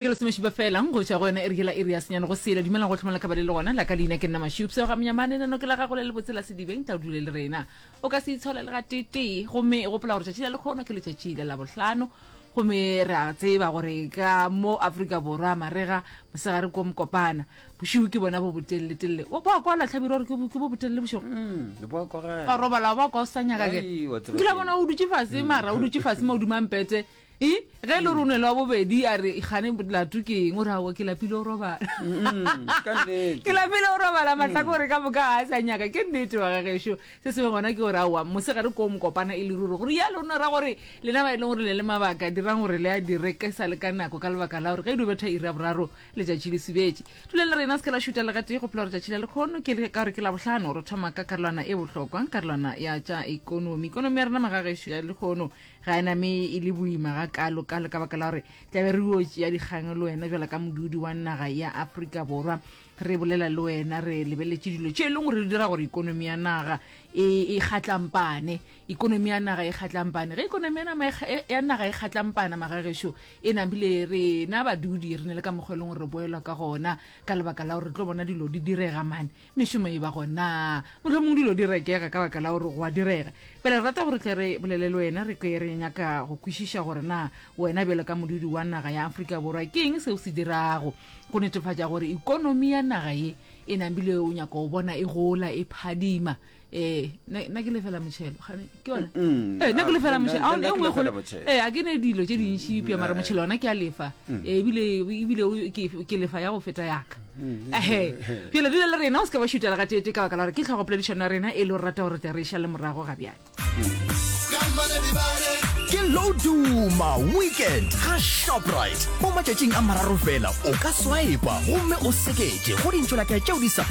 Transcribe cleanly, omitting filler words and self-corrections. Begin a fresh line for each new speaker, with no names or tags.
Ke lesomešupa fela go tšwa go yona iri yela iri ya senyane go sela. Dumelang go tlhomela ka ba le le gona. La ka leina ke nna Mašupse ga Monyamane nano ke la gago le lebotse la sedibeng tla o dule le rena. O ka se itshole le gateetee gomme gopola gore tšatši la lekgono ke letšatši la Labohlano gomme re a tseba gore ka mo Afrika Borwa marega mosegare ko mokopana bošego ke bona bo boteleletelele. O kwa kwa latlhabirwa gore ke bo botelele bošego.
Mm, bo kwa
Wa robala wa kwa o sa nyaka ke.
Ai, wa tseba
Nkile
ke.
bona o dutše fase mara o dutše fase mo o mpete E, ge e le gore o nwele wa bobedi a re gane lato ke eng o re aowa ke lapile o robala
Mm, ka nnete.
ke lapile o robala mahlakore ka moka ga a sa nyaka ke nnete wa gagešo se sengwe gona ke gore aowa mosegare ko mokopana e le ruri gore ya lona ra gore lena ba e leng gore le le mabaka dirang gore le a dire ke sa le ka nako ka lebaka la gore ge e dio betha iri ya boraro letšatši le subetše dula le rena se ke la šuta le gatee gopola gore tšatši la lekgono ke le ka gore ke labohlano re thoma ka karolwana e bohlokwa karolwana ya tša ikonomi ikonomi ya rena magagešo ya lekgono Ga e name e le boima ga kalo kalo ka baka la gore tlabe re yo tšea dikgang le wena bjala ka modudi wa naga ya Afrika Borwa. Re bolela le wena re lebeletše dilo tše e leng gore di dira gore ikonomi ya naga e, e kgatlampane. Ikonomi ya naga e kgatlampane. Ge ikonomi ya nama e e, ya naga e kgatlampana magagešo e namile rena badudi re ne le ka mokgwa e leng gore re boelwa ka gona ka lebaka la gore re tlo bona dilo di direga mane. Mešomo e ba gona. Mohlomong dilo di rekega ka baka la gore go a direga. Bjale re rata gore tle re bolele le wena, re kwe re nyaka go kwešiša gore na wena bjalo ka modudi wa naga ya Afrika Borwa ke eng seo se dirago go netefatša gore ikonomi ya naga ye e namile o nyaka go bona e gola, e phadima. Ee, nna ke lefela motšhelo, gane ke yona? Ee, nna ke lefela motšhelo. A e nngwe kgolo. Ee, a ke ne dilo tše dintši eupša mara motšhelo ona ke a lefa. Ee, ebile ebile ke ke lefa ya go feta yaka. Ehe. Bjale dula le rena o se ke wa šutela gateetee ka baka la gore ke tlhogopoledišano ya rena e le gore rata gore tle re e šale morago ga bjale.
Ke Loduma Weekend ga Shoprite. Mo matšatšing a mararo fela o ka swipa gomme o seketše go dintšolaka tšeo di sa.